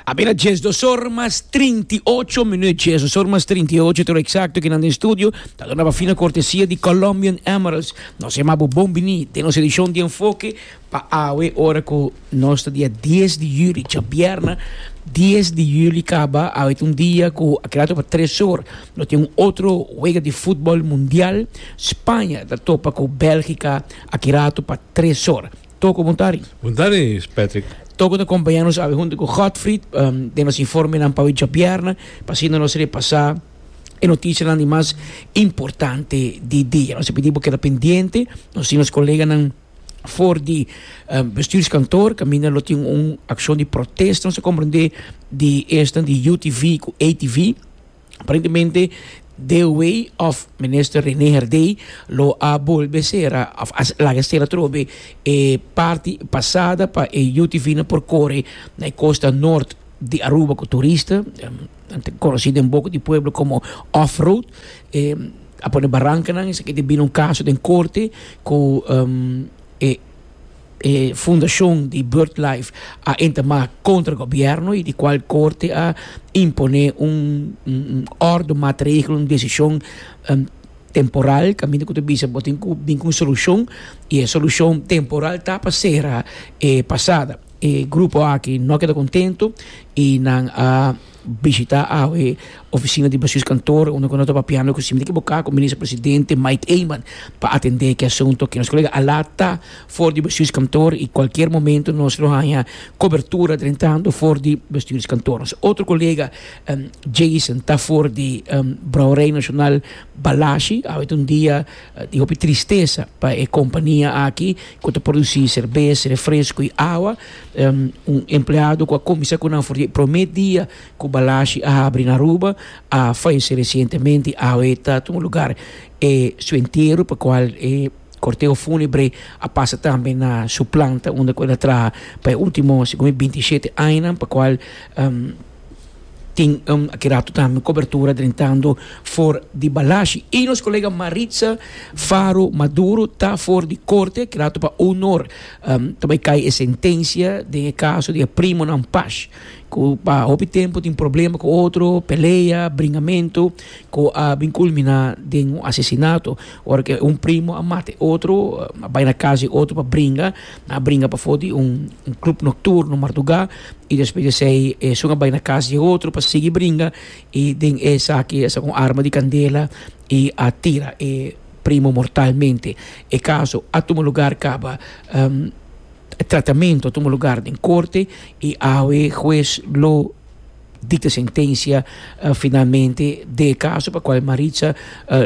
A bira 12 or mas 38 minuut, 12 or mas 38, toro exacto kinan den studio, ta duna pa fina cortesia di Colombian Emeralds. Nos yama bo bon bini den nos edicion di Enfoke pa awe ora cu nos ta dia 10 di juli, djabièrnè 10 di juli caba, awe ta un dia cu a keda pa 3 or no tin un otro wega di futbol mundial, Spaña ta topa cu Belgica aki rato pa 3 or. Toko bon tardi. Bon tardi Patrick. Toko ta compaña nos awe hunto cu Godfried den nos informenan pa awe djabièrnè pa asina nos repasa e noticianan di mas importante di dia. Nos ta pidi bo keda pendiente, nos tin nos coleganan for di bestuurskantoor caminda lo tin un accion di protesta nos ta comprende di esnan di UTV cu ATV. Aparentemente DOW of Minister Rene Herdé lo a bolbe sera of a laga sera atrobe e parti pasada pa e UTV nan por kore na e kosta nort di Aruba ku turista, nan ta konosí den boka di pueblo komo off road. A pone barankanan esaki ta bini un kaso den korte ku e. E fundashon di BirdLife a entamá kontra gobièrnu i di kual korte a imponé un òrdu, maatregel, un desishon temporal kaminda ku ta bisa bo tin ku bin ku un solushon i e solushon temporal ta pa sera e pasada. E grupo aki no a keda kontentu i nan a. Bishita awe oficina di Bestuurskantoor unda cu no ta papiando cu si mi ta ekiboca cu Minister Presidente Mike Eman pa atende ki asunto aki. Nos colega a ta for di Bestuurskantoor y cualkier momento nos lo haya cobertura drentando for di Bestuurskantoor. Nos otro colega Jason ta for di Brouwerij Nacional Balashi. Awe ta un dia di hopi tristesa pa e compania aki cu ta produci cerbes, refresco y awa. Un empleado cu a cuminsa cu nan for di e prome dia cu Balashi a habri na Aruba a fayece recientemente. Awe ta tuma lugar e su entiero pa cual e corteo funebre a pasa tambe na su planta unda cu el a traha pa e ultimo segun mi 27 añanan pa cual Tin aki rato tambe cobertura drentando for di Balashi. Y nos colega Maritza Faro Maduro ta for di corte aki rato pa honor ta bay cay e sentencia den e caso di e primonan Pash cu pa hopi tempo tin problema cu otro, pelea, bringamento cu a bin culmina den un asesinato. Ora cu un primo a mata e otro, a bay na cas di otro pa bringa, nan a bringa pafo di un club nocturno marduga. I despues di esei esun a bai na kas di e otro pa sigui bringa i den esaki a saka un arma di kandela i a tira e primo mortalmente. E kaso a tuma lugar kaba e tratamento a tuma lugar den korte i awe hues lo dikta sentensia finalmente den e kaso pa kual Maritza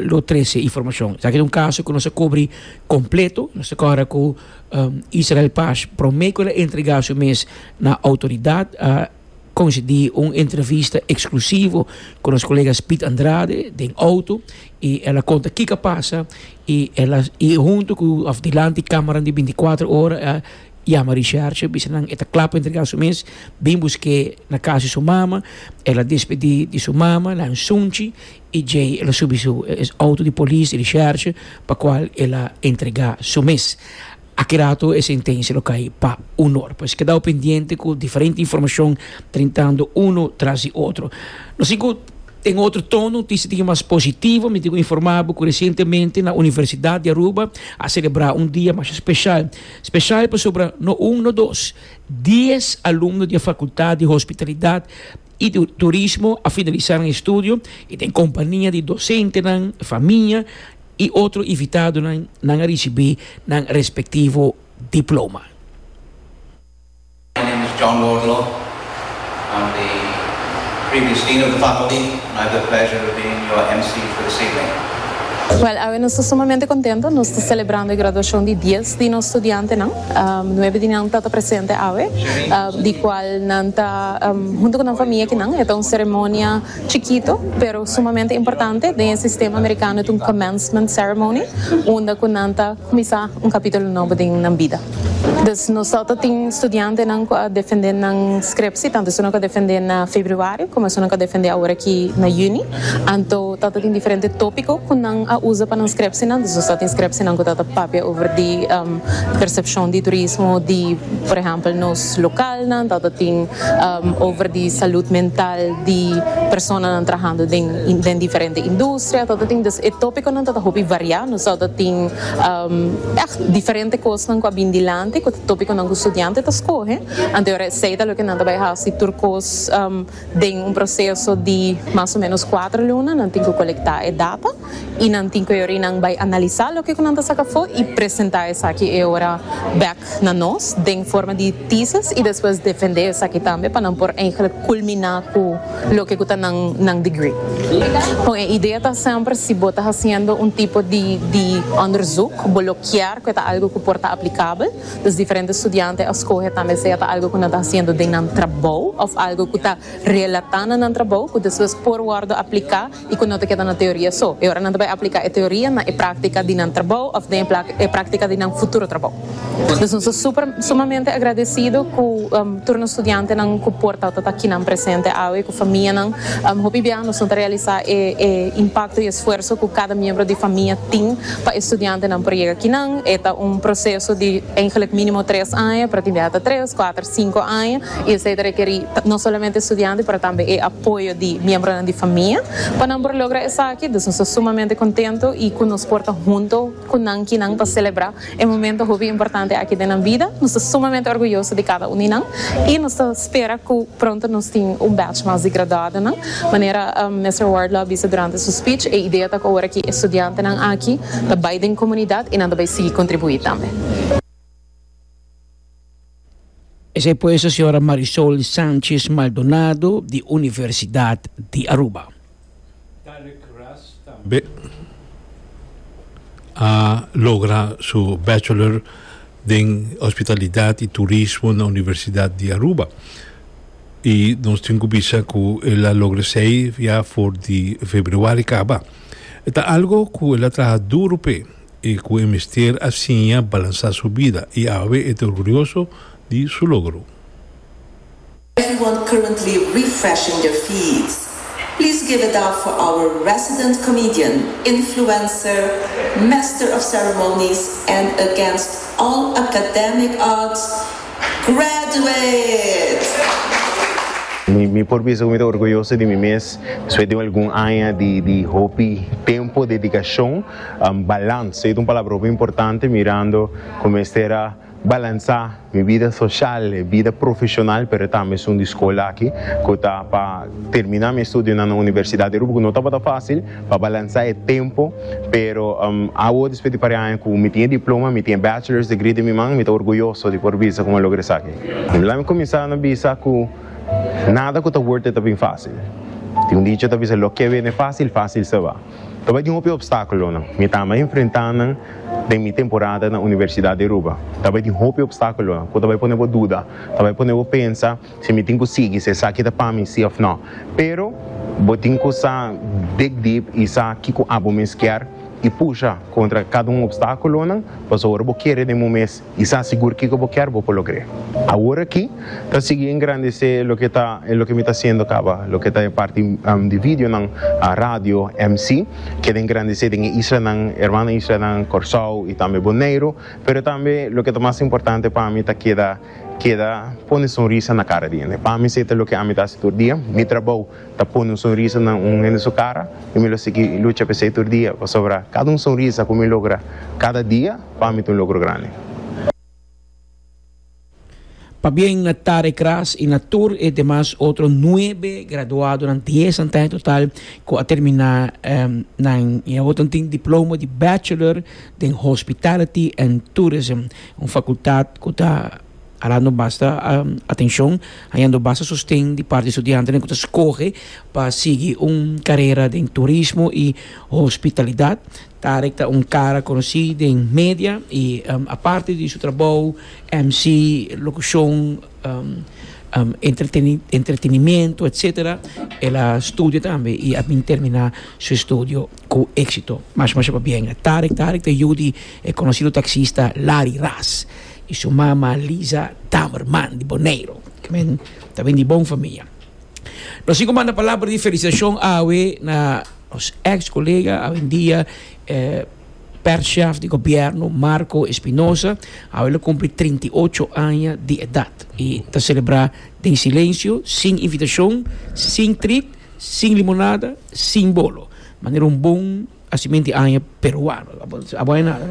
lo trese informashon. Esaki ta un kaso ku nos a kubri kompleto, nos ta kòrda ku. Israel Pash prome ku el a entregá su mes na outoridat a konsedí un entrevista eksklusivo ku nos kolega Speed Andrade den outo i el a konta kiko a pasa i el a i huntu ku òf dilanti kámara di binti kuater ora a yama risherche bisa nan e ta kla pa entregá su mes bin busk'é na kas di su mama el a despedí di su mama nan sunchi I djei el a subi su auto di polis di recherche pa cual el a entrega su mes. Aki rato e sentencia lo cay pa unor. Pues kedao pendiente cu diferente informacion trintando uno tras di otro. Nos tin cu den otro tono noticia tin mas positivo. Mi tin cu informa bo cu recientemente na Universidad di Aruba a celebra un dia masha special. Special pasobra no un no dos, dies alumno di e Facultad di Hospitalidad y Turismo a finalisa nan estudio y den compania di docentenan, famia y otro invitadonan nan a ricibi nan respectivo diploma. My name is John Wardlaw. I'm the previous dean of the faculty and I have the pleasure of being your MC for this evening. Wel, awe nos ta sumamente contento. Nos ta celebrando e graduacion di dies di nos studiantenan. Nuebe di nan ta ta presente awe, di cual nan ta hunto cu nan famia akinan. E ta un ceremonia chikito, pero sumamente importante. Den e sistema americano e ta un commencement ceremony, unda cu nan ta cuminsa un capitulo nobo den nan bida. Dus nos tabata tin studiantenan ku a defendé nan skrepsi, tantu esunnan ku a defendé na februario komo esunnan ku a defendé awor aki na yüni. Anto tabata tin diferente tópiko ku nan a usa pa nan skrepsinan. Dus nos tabatin skrepsinan ku tabata papia over di persepshon di turismo di por ehèmpel nos lokalnan, tabata tin over di salud mental di personanan trahando den den diferente industria, tabata tin. Dus e tópikonan tabata hopi variá. Nos tabata tin. Ègt diferente kosnan ku a bin dilanti ku ta tópikonan ku studiante ta skohe. Anto ora esei ta loke nan ta bai hasi tur kos den un proseso di mas o ménos kuater luna. Nan tin ku kolektá e data i nan tin ku e ora i nan bai analisá loke ku nan ta saka afó i presentá esaki e ora bèk na nos den forma di tesis i despues defendé esaki tambe pa nan por eigentlik kulminá ku loke ku ta nan nan degree. Bon, e idea ta semper si bo ta hasiendo un tipo di di onderzoek, bo lo kier ku e ta algu ku por ta aplikabel. Dus diferente studiante a skohe tambe sea ta algu ku nan ta hasiendo den nan trabou òf algu ku ta relatá na nan trabou ku despues por wòrdu apliká i ku no ta keda na teoria so. E ora nan ta bai apliká e teoria na e práktika di nan trabou òf den e práktika di nan futuro trabou. Dus nos ta super sumamente agradesido ku tur nos studiantenan ku por tabata ta akinan presente awe ku famianan. Hopi bia nos no ta realisá e e impakto i esfuerso ku kada miembro di famia tin pa e studiantenan por yega akinan. E ta un proseso di eigenlijk mínimo tres aña, pero tin bia ta tres, kuater, sinku aña i esei ta rekerí no solamente e studiante pero tambe e apoyo di miembronan di famia pa nan por logra esaki. Dus nos ta sumamente kontento i ku nos por ta hunto ku nan kinan pa selebrá E momento hopi importante aki den nan bida. Nos ta sumamente orguyoso di kada un di nan i nos ta spera ku pronto nos tin un batch mas di graduadonan. Manera Mister Wardlaw a bisa durante su speech, e idea ta ku awor aki e studiantenan aki ta bai den komunidat i nan ta bai sigui kontribuí tambe. Esei pues ta señora Marisol Sanchez Maldonado di Universidad di Aruba. Tarek Ras tambe a logra su bachelor den Hospitalidad y Turismo na Universidad di Aruba. Y nos tin cu bisa cu el a logra esey ya for di februari caba. E ta algo cu el a traha duro p'e. E ku e mester a siña balansá su bida i awe e ta orgulioso di su logro. Everyone currently refreshing their feeds, please give it up for our resident comedian, influencer, master of ceremonies and against all academic odds, Graduate! Mi por bisa ku mi ta orguyoso di mi mes despues di algun aña di hopi tempu, dedikashon, balans. Esei ta un palabra hopi importante mirando ku mester a balansá mi bida soshal, e bida profeshonal, pero tambe esun di skol aki ku ta pa terminá mi estudionan na Universidat di Aruba ku no tabata fásil pa balansá e tempu. Pero awo despues di par aña ku mi tin e diploma, mi tin e bachelor's degree den mi man, mi ta orguyoso di por bisa ku mi a logra esaki. Laat mi kuminsá na bisa ku nada ku ta worth it ta bin fásil. Tin un dicho ta bisa loke bini fásil, fásil se ba. Ta bai tin hopi opstákulonan. Mi tamba enfrentá nan den mi temporada na Universidat di Aruba. Ta bai tin hopi opstákulonan ku ta bai pone bo duda, ta bai pone bo pensa si mi tin ku sigui, si esaki ta pa mi, si òf nò. Pero bo tin ku sa dig deep i sa kiko abo mes kier i pusha kontra kada un opstákulonan, pasobra ora bo kere den bo mes i sa sigur kiko bo kier, bo por logr'é. Awor aki ta sigui engrandesé loke ta loke mi ta hasiendo kaba, loke ta e parti di videonan, radio, MC, keda engrandesé den e islanan, hermano islanan Kòrsou i tambe Boneiru, pero tambe loke ta mas importante pa mi ta keda Keda pone sonrisa na kara di hende. Pa mi esei ta loke ami ta hasi tur dia. Mi trabou ta pone un sonrisa na un hende su kara i mi lo sigui lucha pa esei tur dia pasobra kada un sonrisa ku mi logra kada dia pa mi ta un logro grandi. Pabien na Tarek Ras i na tur e demas otro nuebe graduadonan, dies nan ta en total, ku a terminá nan i awor nan tin diploma di Bachelor den Hospitality and Tourism. Un facultad cu ta halando basta atencion, hañando basta sosten di parti studiantenan cu ta scoge pa sigui un carera den turismo y hospitalidad. Tarek ta un cara conoci den media y aparte di su trabou, MC, locucion, entretenimiento etcetera, el a studia tambe y a bin termina su estudio cu exito. Masha masha pabien. Tarek Tarek ta yu di e conocido taxista Larry Ras. y su mama Lisa Damerman di Boneiro. Ke men ta bin di bon famia. Nos tin ku manda palabra di felisitashon awe na nos ex kolega awendia perschef di gobierno Marco Espinosa. Awe lo kumpli 38 aña di edat y ta selebrá den silensio, sin invitashon, sin trit, sin limonada, sin bolo. Manera un bon Hacimenti aña peruano. Abo hay nada.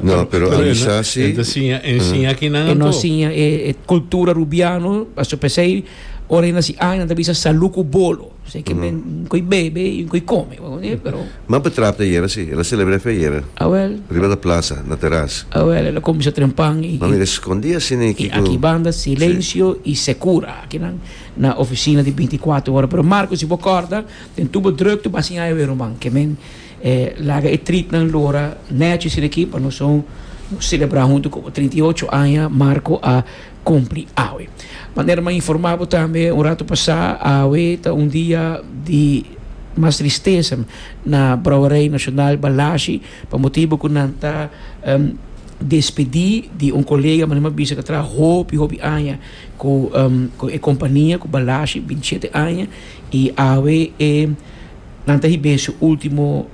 No, pero a mi sa si. E ta siña, e siña akinan E no anto. siña e e cultura rubiano. Pasobra p'esei ora e naci aña nan ta bisa salú ku bolo. P'esei ke men un koi bebe i un koi kome. Bo kononé? Pero. M'a betrapte ayera si. El a selebrá fe ayera. Awel. Riba ta plaza, na teras. Awel, el a kuminsá trempan i. M'a mira skondí asina i I aki banda silencio i sekura. Akinan na oficina di 24 ora. Pero Marco si bo kòrda. Den tubo drukte bo a siña e ruman ke men laga e tritnan lora nechi esei aki pa nos son selebrá huntu ku bo. 38 aña Marco a kumpli awe. Manera mi a informá bo tambe un ratu pasá, awe ta un dia di mas tristesa na Brouwerij Nacional Balashi pa motibu ku nan ta despedí di un kolega manera mi a bisa ku a traha hopi hopi aña ku e kompania ku Balashi, 27 aña. I awe e nan ta hib'é su último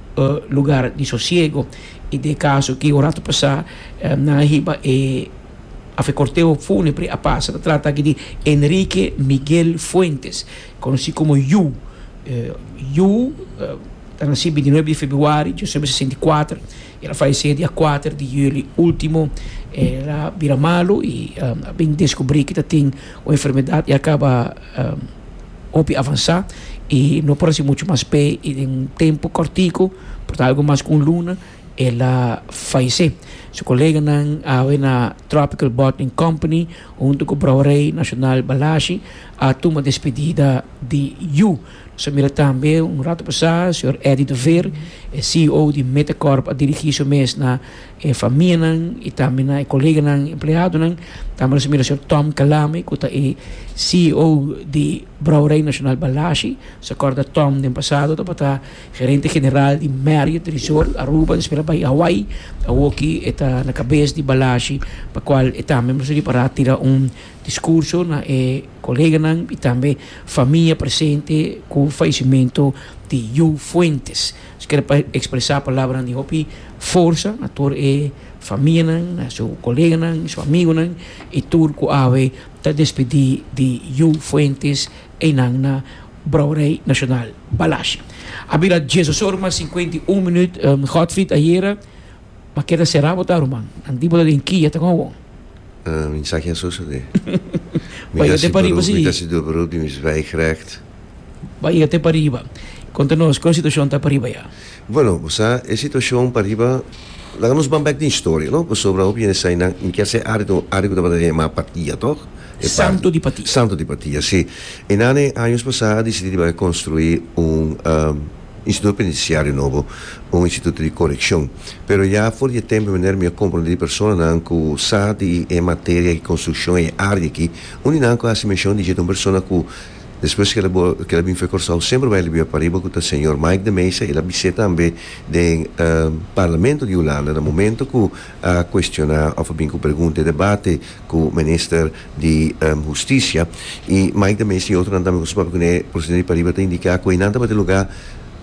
lugar di sosiego. I den e kaso ki un ratu pasá nan a hiba e af e korteo fúnebre a pasa. Ta trata aki di Enrique Miguel Fuentes, konosí komo Yu. Yu ta nasí 29 di februari 1964. El a fayesé dia kuater di yüli último. El a bira malu i a bin deskubrí ki ta tin un enfermedat i a kaba hopi avansá i no por hasi muchu mas p'e i den un tempu kòrtiku, por ta algu mas ku un luna, el a fayesé. Su koleganan awe na Tropical Bottling Company huntu ku Brouwerij Nacional Balashi a tuma despedida di yu. Nos a mira tambe un ratu pasá señor Eddie de Veer, e CEO di Metacorp a dirigí su mes na e famianan i tambe na e koleganan empleadonan. Tambe nos a mira señor Tom Calame ku ta e CEO di Brouwerij Nacional Balashi. Nos a kòrda Tom den pasado tabata gerente general di Marriott Resort Aruba, despues el a bai Hawaii. Awoki e ta na kabes di Balashi pa kual e tambe nos a ripará tira un diskurso na e koleganan i tambe famia presente ku fayesimentu di Yu Fuentes. Nos kere pa ekspresá palabranan di hopi forsa na tur e famianan, na su koleganan, su amigunan i tur ku awe ta despedí di Yu Fuentes einan na Brouwerij Nacional Balashi. A bira diesdos ora mas 51 minuut, Godfried ayera ma keda será bo ta ruman. Nan di bo ta den kia ta kon awor. Mi sa ki a sosodé. Mi ta hasi beroep, mi ta hasi do beroep di mi zwijgrecht. Bai yega te pariba. Konta nos, kon situashon ta pariba ya? Bueno, bo sa, e situashon pariba, laga nos ban bek den historia, no? Pasobra hopi hende sa nan, mi kier sa e área ta un área ku tabata yamá Patia, tòg? E Santo di Patia. Santo di Patia, si. E nan e años pasá a disidí di bai konstruí un instituto penitenciario nobo, un instituto di korekshon. Pero ya for di e tempu manera mi a komprondé di personanan ku sa di e materia di konstrukshon e área aki, un di nan ku a hasi menshon di dje ta un persona ku Despues ku el a bin for Kòrsou semper bai el a biba pariba ku ta señor Mike de Meza, el a bis'é tambe den Parlamento di Hulanda na momento ku a kuestioná òf a bin ku pregunta e debate ku minister di Hustisia i Mike de Meza i otronan tambe ku su papia kuné presidente di pariba ta indiká ku einan tabata e lugá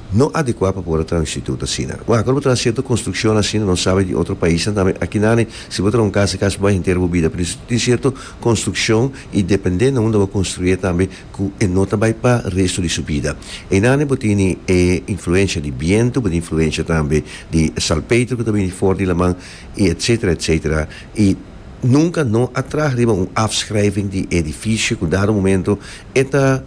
no adekuá pa por a traha un instituto asina. Wak, ora bo traha sierto konstrukshon asina nos sabi di otro paisnan tambe akinane si bo traha un kas e kas bo bai henter bo bida pero tin sierto konstrukshon I dependé na unda bo konstruyé tambe ku e no ta bai pa resto di su bida. Einane bo tini e influensha di bientu, bo tin influensha tambe di salpeter ku ta bini for di laman i etsetera etsetera. I nunka no a traha riba un afschrijving di e edifisio ku dado momento e ta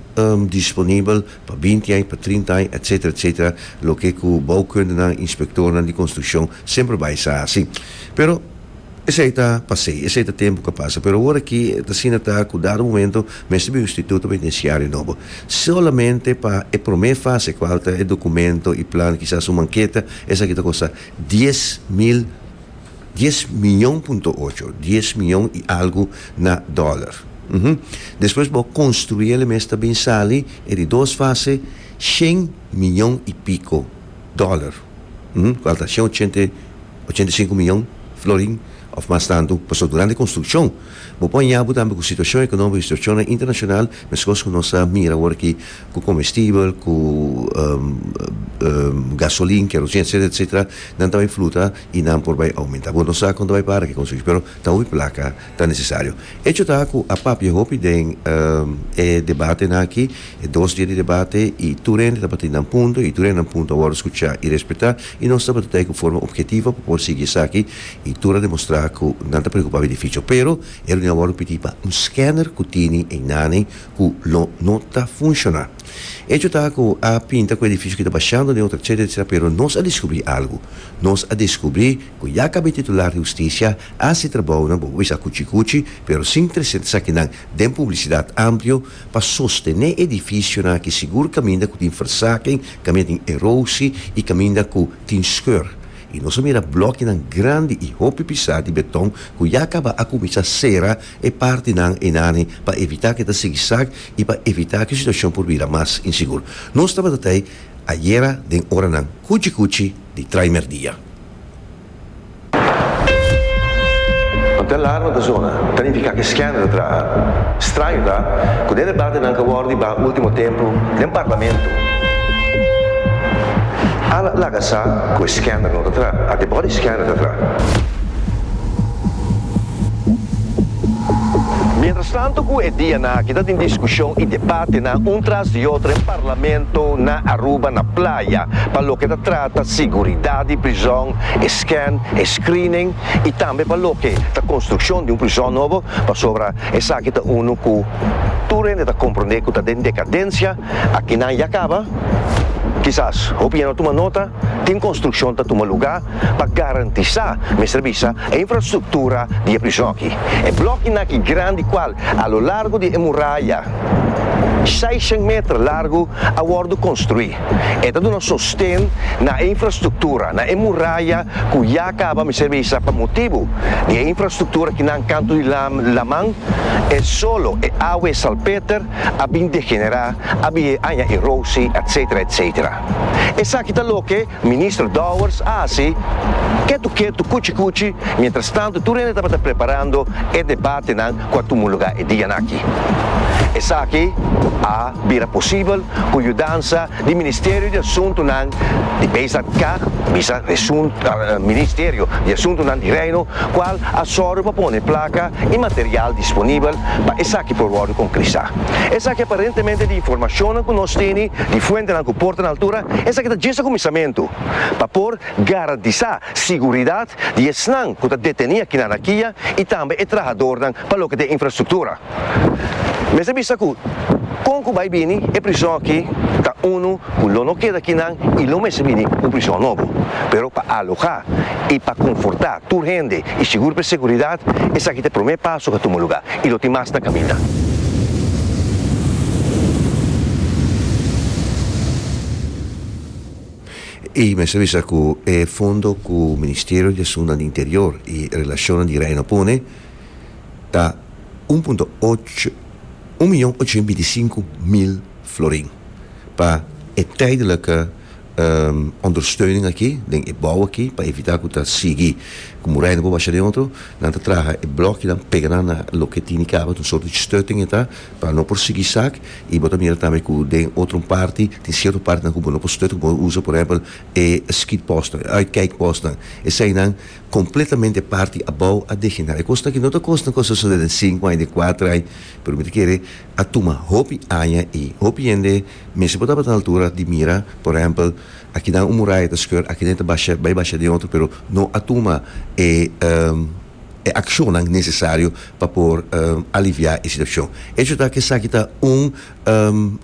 disponibel pa binti aña, pa trinta aña etsetera etsetera, loke ku bouwkundenan, inspektornan di konstrukshon semper bai sa hasi. Pero. Esei ta pas'é, esei ta tempu ku a pasa, pero awor aki ta asina ta ku dado momento mester bin un instituto penitenciario nobo. Solamente pa e promé fase kual ta e dokumento i plan, kisas un manketa, esaki ta kosta dies mil, dies miyon punto ocho, dies miyon i algu na dòler. Despues bo konstruí el e mes ta bin sali e di dos fase shen miyon i piko dòler, kual ta shen ochenta. 85 miyon florin. òf mas tantu, pasobra durante konstrukshon bo por haña bo tambe ku situashon ekonómiko i situashonnan internashonal, meskos ku nos a mira awor aki ku komestibel, ku gasolin, kerosin, etsetera, etsetera, nan ta bai fluta i nan por bai oumentá. Bo no sa kon ta bai para ku e konstrukshon, pero ta hopi plaka ta nesesario. Echo ta ku a papia hopi den e debatenan aki, e dos dia di debate, i tur hende tabatin nan punto, i tur hende nan punto a wòrdu skuchá i respetá, i nos tabata ta ku forma obhetivo pa por sigui esaki, i tur a demostrá ku nan ta preokupá beneficio. Pero e reunion a wòrdu pidí pa un scanner ku tini einane ku lo no ta funshoná. Echo ta ku a pinta ku edifisio ki ta bashando den otro etcetera etcetera, pero nos a deskubrí algu. Nos a deskubrí ku ya kaba e titular di hustisia a hasi trabounan, bo por bisa kuchi kuchi, pero sin trese esakinan den publisidat amplio pa sostené edifisionan aki sigur kaminda ku tin versaking, kaminda tin erosie i kaminda ku tin skeur. I nos a mira blòkinan grandi i hopi pisá di beton ku ya kaba a kuminsá sera e partinan einani pa evitá ku e ta sigui sak i pa evitá ku e situashon por bira mas insigur. Nos tabata ta ei ayera den oranan kuchi kuchi di trai mèrdia. Ante alarma ta zona, ta nifiká ku e scanner ta traha. Straño ta ku den debatenan ku a wòrdu di baha último tempu den parlamento, a laga sa ku e scanner no ta traha, ante body scanner ta traha. Mientras tanto cu e dianan aki ta tin discusion y debatenan un tras di otro den Parlamento na Aruba na Playa pa loke ta trata siguridad di prizon, e scan, e screening y tambe pa loke ta construccion di un prizon nobo pasobra esaki ta uno cu tur hende ta comprende cu ta den decadencia, akinan ya caba, kisas hopi ya no tuma nota, tin construccion ta tuma lugar. Pa garantisá, mester bisa, e infrastruktura di e prison aki. E blòkinan aki grandi kual a lo largo di e muraya seishen meter largu a wòrdu konstruí. E ta duna sosten na e infrastruktura, na e muraya ku ya kaba, mester bisa, pa motibu di e infrastruktura kinan kantu di laman, e solo, e awa, e salpeter a bin degenerá, a bin haña erosi, etcetera, etcetera. Esaki ta loke Minister Dowers a hasi ketu ketu, kuchi kuchi, mientras tanto tur hende tabata preparando e debatenan ku a tuma luga e dianan aki. Esaki a bira posibel ku yudansa di Ministerio di Asuntunan di BZK, bisa Ministerio di Asuntunan di Reino, kual a sòru pa pone plaka i material disponibel pa esaki por wòrdu konkrisá. Esaki aparentemente di informashonnan ku nos tene di fuentenan ku por ta na altura, esaki ta djes e kuminsamentu pa por garantisá siguridat di esnan ku ta detení aki na Rakia i tambe e trahadornan pa loke ta e infrastruktura. Mester bisa ku kon ku bai bini e prison aki ta unu ku lo no keda akinan i lo mester bini un prison nobo. Pero pa alohá i pa konfortá tur hende i sigur pa e seguridat, esaki ta e promé paso ku a tuma lugá i lo tin mas na kaminda. I mester bisa ku e fondo ku Ministerio di Asuntunan di Interior i Relashonnan di Reino pone ta un punto ocho, un miyon ochocientos binti mil florin pa e tijdelijke ondersteuning aki den e bou aki pa evita ku ta sigui ku muraya no por basha den otro. Nan ta traha e blòkinan pega nan na loke tini kaba, ta un sorto di stutting e ta pa no por sigui sak i bo ta mira tambe ku den otro parti tin sierto partinan ku bo no por stut ku bo usa por ehèmpel e schietpostnan, e uitkijkpostnan. Eseinan kompletamente parti abou a degenerá. E kosnan aki no ta kosnan ku a sosodé den sinku aña, den kuater aña, pero mi ta kere a tuma hopi aña i hopi hende mester por tabata na altura di mira, por ehèmpel, akinan un muraya ta skeur, akinan ta basha, bai basha den otro, pero no a tuma e e akshonnan nesesario pa por aliviá e situashon. Hecho ta ku esaki ta un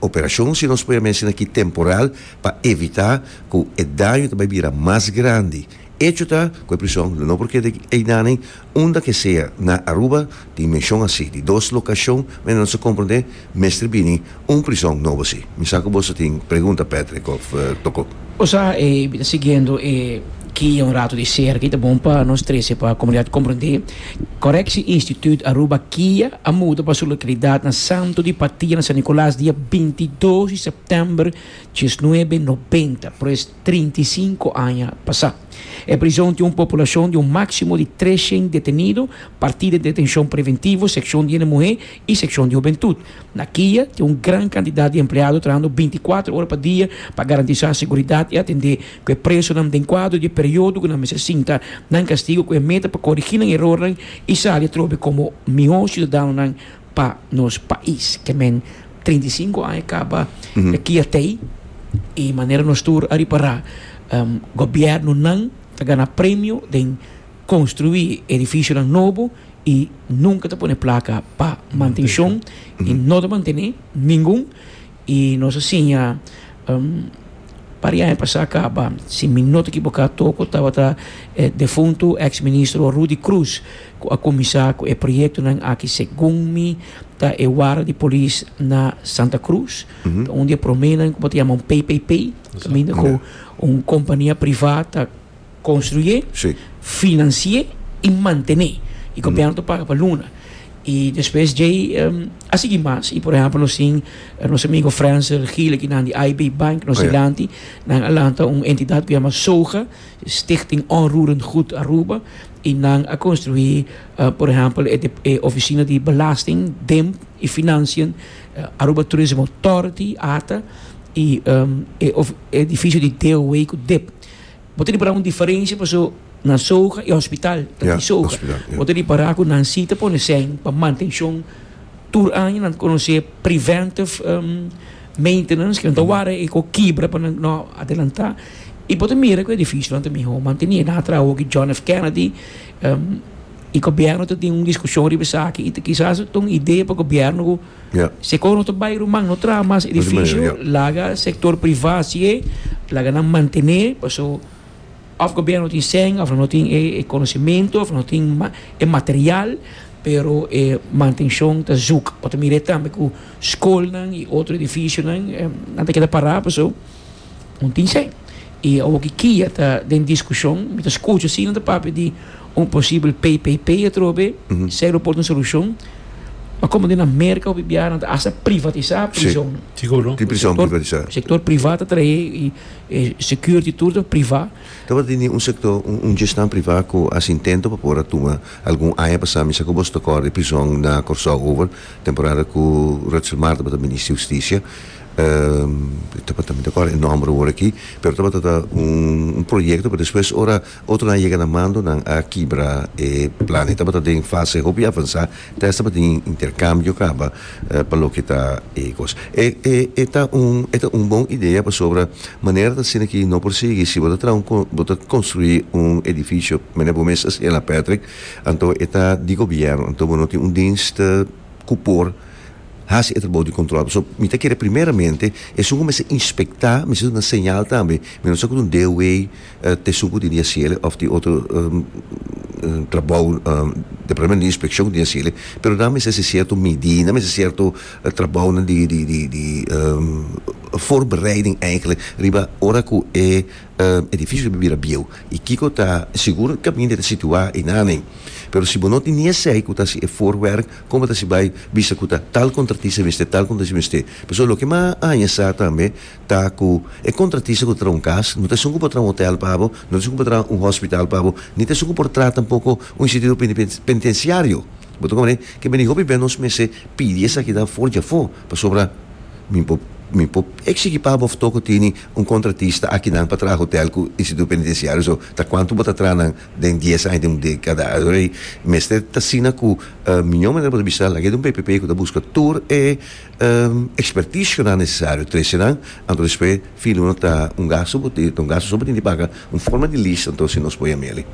operashon, si nos por yama asina aki, temporal pa evitá ku e daño ta bai bira mas grandi. Hecho ta ku e prison lo no por keda einan unda ke sea na Aruba tin menshon asi di dos lokashon mende nos a komprondé mester bini un prison nobo si. Mi sa ku boso tin pregunta Patrick of Toko. Osa e mi ta siguiendo e. Kia un rato di serka i ta bon pa nos trese pa komunidat komprendé. Correctie Instituut Aruba, kia, a muda pa su lokalidat na Santo di Patia na San Nicolas dia 22 di sèptèmber 1990, pues 35 aña pasá. E prizon tin un populashon di un máksimo di 300 detenido, partí den detenshon preventivo, sekshon di hende muhé i sekshon di hubentut. Na kia tin un gran kantidat di empleado trahando bintikuater ora pa dia pa garantisá seguridat i atendé ku e presonan den kuadro di e periodo ku nan mester sinta nan kastigu ku e meta pa korigí nan erornan i sali atrobe komo mihó siudadanonan pa nos pais. Ke men 35 aña kaba e kia t'ei i manera nos tur a ripará gobièrnunan ta gana premio den konstruí edifisionan nobo i nunka ta pone plaka pa mantenshon i no ta mantené ningun i nos a siña par di aña pasá kaba si mi no ta ekiboká toko tabata e defuntu eks ministro Rudy Croes ku a kuminsá ku e proyektonan aki segun mi ta e warda di polis na Santa Cruz ta un di e proménan ku bo ta yama un PPP kaminda ku un kompania privá ta Construyé, financié y mantené. Y gobierno ta paga pa luna. Y despues djey a sigui mas. Y por ehempel nos tin nos amigo Franser Gil aki nan di IB Bank nos dilanti. Nan a lanta un entidad cu yama SOGA, Stichting Onroerend Goed Aruba. Y nan a construi por ehempel e oficina di belasting, DIMP y Financiën, Aruba Tourism Authority, ata, y e edificio di DOW cu dip. Bo ta ripará un diferensia paso na soga i hospital ta di soga. Bo ta ripará ku nan si ta pone sèn pa mantenshon tur aña nan ta konosé preventive maintenance ku nan ta wara e ko kibra pa nan no adelantá i bo ta mira ku e edifisionan ta mihó mantení. Nan a traha hopi John F. Kennedy i gobièrnu ta tin un diskushon riba esaki i ta kisas ta un idea pa gobièrnu ku Si e no ta bai ruman no traha mas edificio laga sector priva hacié laga nan mantene paso of gobierno no tin cen of no tin e conocimento of no tin e material pero e mantencion ta zoek bo ta mira tambe cu scolnan y otro edificionan nan ta keda para paso no tin cen y awoki kia ta den discusion mi ta scucha si nan ta papia di un posibel PPP atrobe, esei lo por ta un solushon. Ma komo den na Merka hopi biaha nan ta asta privatisá prizon. Sigur. Tin prizon privatisá. Sektor privá ta trahe i e security tur ta privá. Tabata tini un sektor, un gestan privá ku hasi intento pa por a tuma algun aña pasá. Mi sa ku boso ta kòrda e prizon na Kòrsou over temporada ku Rutshel Mar tabata minister di hustisia. Tabata, mi ta kòrda e nòmber awor aki, pero tabata ta un proyekto, pero despues ora Otronan a yega na mando, nan a kibra e plan. E tabata den fase hopi avansá, te hasta tabatin interkambio kaba pa loke ta e kos. E e e ta un e ta un bon idea pasobra manera ta asina ki no por sigui. Si bo ta traha un bo ta konstruí un edifisio manera bo mes a señalá Patrick, anto e ta di gobièrnu, anto bo no tin un dienst ku por hasi e trabou di kontrol. Pasobra mi ta kere primeramente esun ku mester inspektá mester duna señal tambe. Mi no sa ku ta un DOW Ta esun ku tin di hasiel òf tin otro trabou departamento di inspekshon ku tin di hasiel pero nan mester hasi sierto midí nan mester sierto trabounan di di di di voorbereiding eigenlijk riba ora ku e edifisio ta bira bieu i kiko ta sigur kaminda ta situá einan pero si bo no tin ni esei ku ta hasi e voorwerk kon bo ta hasi bai bisa ku ta tal kontratista mester tal kontratista mester pasobra loke mi a haña sa tambe ta ku e kontratista ku ta traha un kas no ta esun ku por traha un hotel pa bo, no ta esun ku por traha un hospital pa bo, ni ta esun ku por traha tampoko un instituto penitensiario. Bo ta komprende? Ke bini hopi bes nos mester pidi esakinan for di afó, pasobra mi por mi por eksigi pa bo toko tini un kontratista akinan pa traha hotel ku instituto penitensiario. So, ta kuantu bo ta traha nan den dies aña, den un dekada? Alor mester ta asina ku miñó manera bo ta bisa laga e di un PPP ku ta buska tur e Experticionan necesario trece nan, anto despues fin luna ta un gasto bo tin, ta un gasto so bo tin di paga, un forma di list anto si nos por yam'el.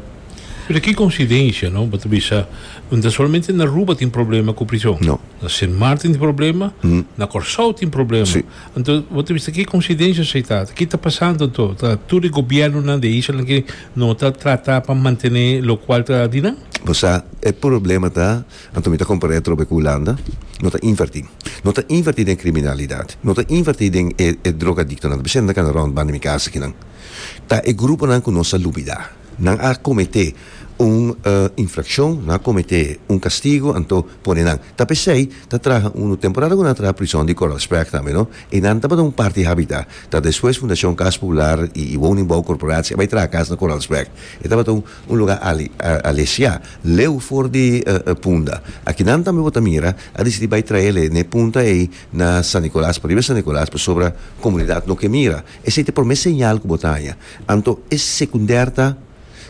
Pero ki coincidencia, no? Bo ta bisa, no ta solamente na Aruba tin problema cu prison. No. Na Sint Maarten tin problema, na Corsou tin problema. Si. Anto, bo ta bisa ki coincidencia esey ta? Ki ta pasando anto? Ta tur e gobiernonan di e islanan aki no ta trata pa mantene locual ta di nan? Bo sa, e problema ta, anto mi ta compara e atrobe cu Hulanda, no ta inverti. No ta inverti den criminalidad, no ta inverti den e e drogadictonan. Ta bisa nan ta cana rond banda mi cas akinan. Ta e gruponan cu nos a lubida. Nan a comete un infraccion, nan a comete un castigo, anto pone nan. Ta p'esey ta traha unu temporada cu nan a traha prison di Coralsberg tambe, no? E nan tabata un parti habita. Ta despues Fundacion Cas Popular y Woningbouwcorporatie a bay traha cas na Coralsberg. E tabata un un lugar ali alesia, leu for di Punda. Akinan tambe bo ta mira a disidi bay traele n'e punta ey na San Nicolas, pariba San Nicolas, pasobra comunidad no ke mira. Esei ta e promé señal ku bo ta haña. Anto e sekundèr ta,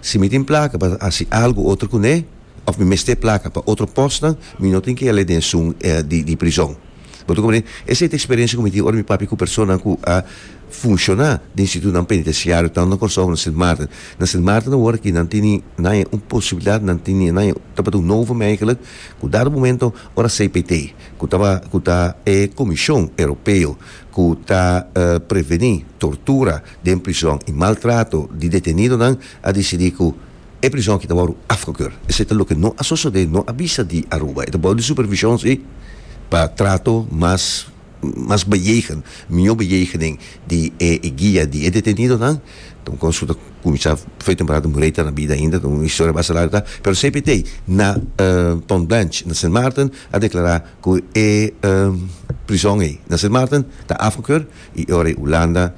si mi tin plaka pa hasi algu otro kuné, òf mi mester plaka pa otro pòstnan, mi no tin ke al'e den esun di prizòn. Bo ta komprendé? Esei ta eksperensia ku mi tin ora mi papia ku personanan ku a funshoná den institutonan penitensiario, tantu na Kòrsou komo na Sint Maarten. Na Sint Maarten awor aki nan tini nan haña un posibilidat, nan tini nan haña tabata un novum eigenlijk, ku dado momento ora CPT, ku taba ku ta e Komishon Europeo ku ta prevení tortura den prizòn i maltrato di detenidonan, a disidí ku e prizòn aki ta wòrdu afgekeur. Esei ta loke no a sosodé, no a bisa di Aruba. E ta bou di supervishon sí, pa trato mas mas bejegen, mihó bejegening di e guia di e detenidonan. Ta un kos ku ta kuminsá fe temporada Murray ta na bida ainda, ta un historia basta largu ta. Pero CPT na Pont Blanche na Sint Maarten a deklará Ku e prizon ei na Sint Maarten ta afgekeur i e ora ei Hulanda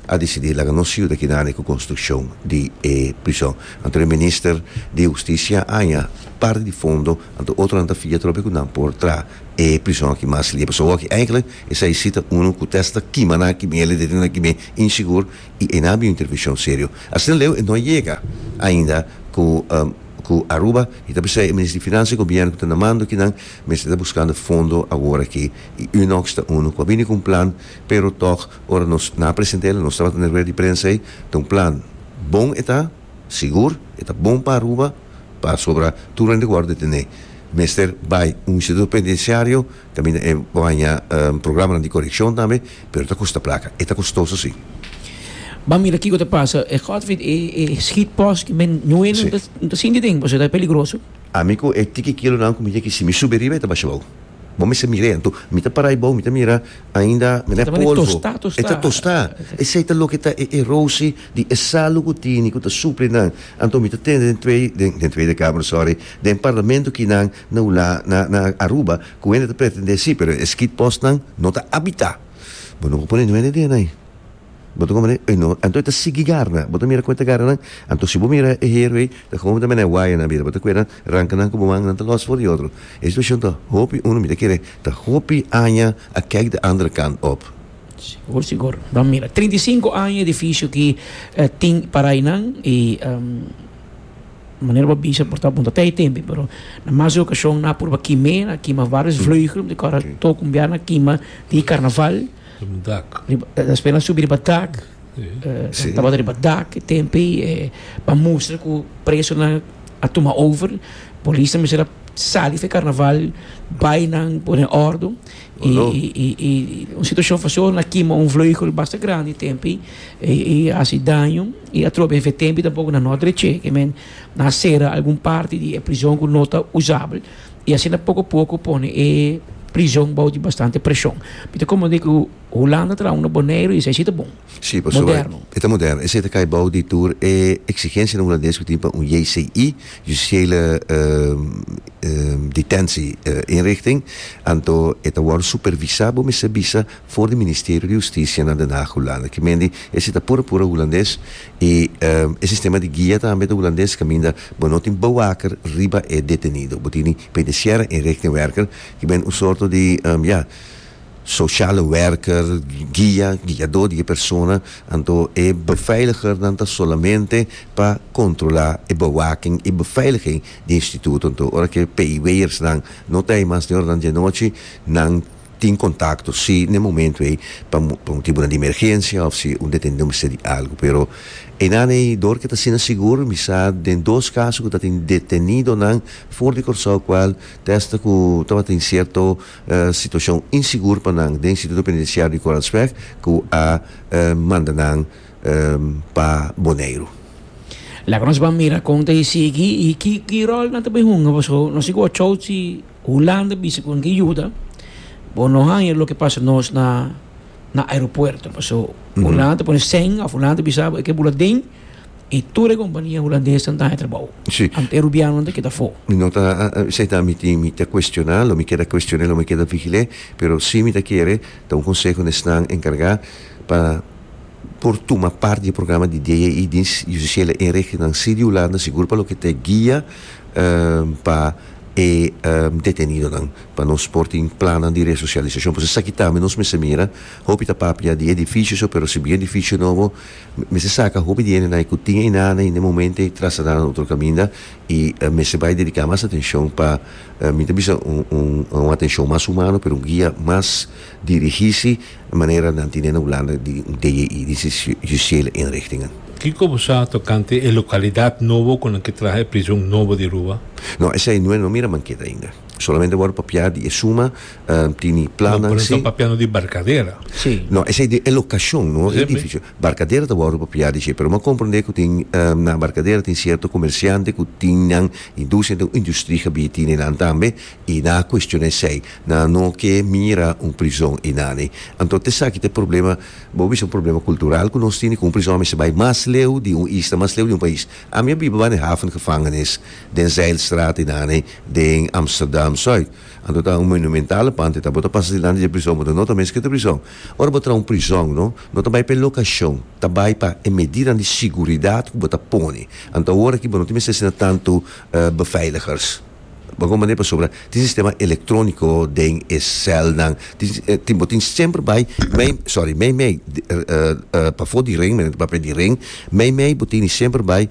a disidí laga nos yuda kinane ku konstrukshon di e prizon. Anto e minister di hustisia a haña parti di fondo, anto otronan ta fia atrobe ku nan por traha e prizon aki mas lie. Pasobra awor aki eigenlijk esei si ta unu ku tèst ta kima nan aki mele, detene nan aki me insigur i ei nan a bin un intervenshon serio. Asina leu e no a yega ainda ku ku Aruba i ta p'esei e minister di finansa i gobièrnu ku ta na mando kinan Mester ta buscando fondo awor aki y Unox ta uno cu a bini cu un plan, pero toch ora nos na present'el nos tabata na rueda di prensa ey, ta un plan bon e ta, sigur e ta bon pa Aruba, pasobra tur hende cu worde detene mester bay un instituto penitenciario caminda e bo haña programanan di coreccion tambe, pero ta custa placa, e ta costoso si. Ban mira kico ta pasa, e Godfried e schietpost men no ta sinti den pasobra ta peligroso. Ami ku e tiki kilonan ku mi tin aki, si mi subi riba e ta basha bou. Bo mester mir'é. Anto mi ta para ei bou, mi ta mira ainda mi na polvo. E ta tostá. Esei ta loke ta e erosi di e salu ku tini ku ta supli nan. Anto mi ta tende den twee, den Tweede Kamer, sorry, den parlamento kinan na Hula, na na Aruba, ku hende ta pretendé si, pero e skietpostnan no ta abitá. Bo no por pone nuende den ei. Bo ta komprende? Ey no, anto e ta sigui garna. Bo ta mira kon e ta garna nan? Anto si bo mira e heru ey, ta komo ta mene waya nan bira. Bo ta kue nan, ranka nan ku bo man, nan ta los for di otro. E situashon ta hopi, uno mi ta kere, ta hopi aña a kijk de andere kant op. Sigur, sigur. Ban mira. 35 aña edifisio ki tin para eynan y manera bo a bisa por ta bon ta tei tempi, pero na mas di okashon nan a purba kim'é, nan a kima varios vleugel, mi ta kòrda tok un bia nan a kima di karnaval. Riba un dak. Riba, despues nan subi riba dak. Sí. Tabata riba dak e tempo ei pa mustra ku presonan a tuma over. Polisnan mester a sali for e karnaval bai nan pone òrdu. I i i un situashon fasil nan a kima un vleugel basta grandi e tempo ei i hasi daño. I atrobe e tempo ei tampoko nan no a dreché. Ke men nan a sera algun parti di e prizon ku no ta usabel. I asina poko poko pone e prizon bou di bastante preshon. Mi ta komprendé ku Hulanda traha un na Boneiru i esei si ta bon. Sí, pasobra Moderno. e ta moderno. Esei ta kai bou di tur e eksigensianan hulandes ku tin pa un JCI, Justitiële Detentie Inrichting. Anto e ta wòrdu supervisá, bo mester bisa, for di Ministerio di Hustisia na Den Haag, Hulanda. Ki men di esei ta pura pura hulandes I e sistema di guia tambe ta hulandes kaminda bo no tin bewaker riba e detenido. Bo tini penitenciaire inrichtingwerker ki ben un sorto di ya sociale werker, guia, guiadó di e persona. Anto e beveiligernan ta solamente pa kontrolá e bewaking i beveiliging di e instituto. Anto ora ku e PIW'ersnan no ta ei mas den oranan di anochi nan. Tin kontakto si na e momento ei pa pa motibunan di emergensia òf si un detenido mester di algu. Pero einan ei dor ke ta asina sigur mi sa den dos kaso ku ta tin detenidonan for di Kòrsou kual te asta ku tabatin sierto situashon insigur pa nan den Instituto Penitensiario di Koransweg ku a manda nan pa Boneiru. Laga nos ban mira kon ta e sigui i ki ki ròl nan ta bai hunga pasobra nos tin ku wachou si Hulanda bisa ku nan ke yuda, bo no haña loke pasa nos na na aeropuerto. Paso Hulanda ta pone sèn òf Hulanda ta bisa bo e ke bula den i tur e kompania hulandesnan ta haña trabou. Anto e rubianonan ta keda afó. Mi no ta esei ta mi tin mi ta kuestioná, lo mi keda kuestion'é, lo mi keda vigil'é, pero sí mi ta kere ta un konseho na esnan enkargá pa por tuma parti di e programa di DJI, Dienst Justitiële Inrichtingnan sí di Hulanda, sigur pa loke ta e guia pa e detenidonan pa nos por tin plannan di resosialisashon. Pasobra esaki tambe nos mester mira, hopi ta papia di edifisio so, pero si bin edifisio nobo mester saka hopi di hendenan ku tin einan i na e momento ei trasladá nan otro kaminda i mester bai dediká mas atenshon pa mi ta bisa un un atenshon mas humano pero un guia mas dirigí si manera nan tine na Hulanda di un DJI, Dienst Justitiële Inrichtingen. Kiko bo sa tokante e lokalidat nobo ku nan ke traha e prizon nobo di Aruba? No, esei no e no mira manketa ainda. Solamente wòrdu papiá di e suma, tini plannan si. No, pero nan ta papiando di Barcadera. Si. No, esei di e lokashon, no e edifisio. Barcadera ta wòrdu papiá di dje, pero mi a komprondé ku tin na Barcadera tin sierto komersiante ku tin nan industria, tin un industriegebied tini nan tambe i nan a kuestioná esei. Nan no ke mira un prizon einani. Anto t'esaki ta e problema. Bo bisa un problema cultural cu nos tini cu un prizon mester bay mas leu di un isla, mas leu di un pais. Ami a biba banda e havengevangenis den Zijlstraat inane den Amsterdam Zuid. Anto ta un monumentale pand eta. Bo ta pasa dilanti di e prizon, bo ta nota mes cu ta prizon. Ora bo traha un prizon, no, no ta bay pa e locacion, ta bay pa e medidanan di siguridad cu bo ta pone. Anto awor aki bo no tin mester asina tanto beveiligers. Bo con manera pasobra tin sistema electronico den e celnan tin bo tin semper bay mei sorry mei mei pafo di ring men ta papia di ring mei mei bo tini semper bay.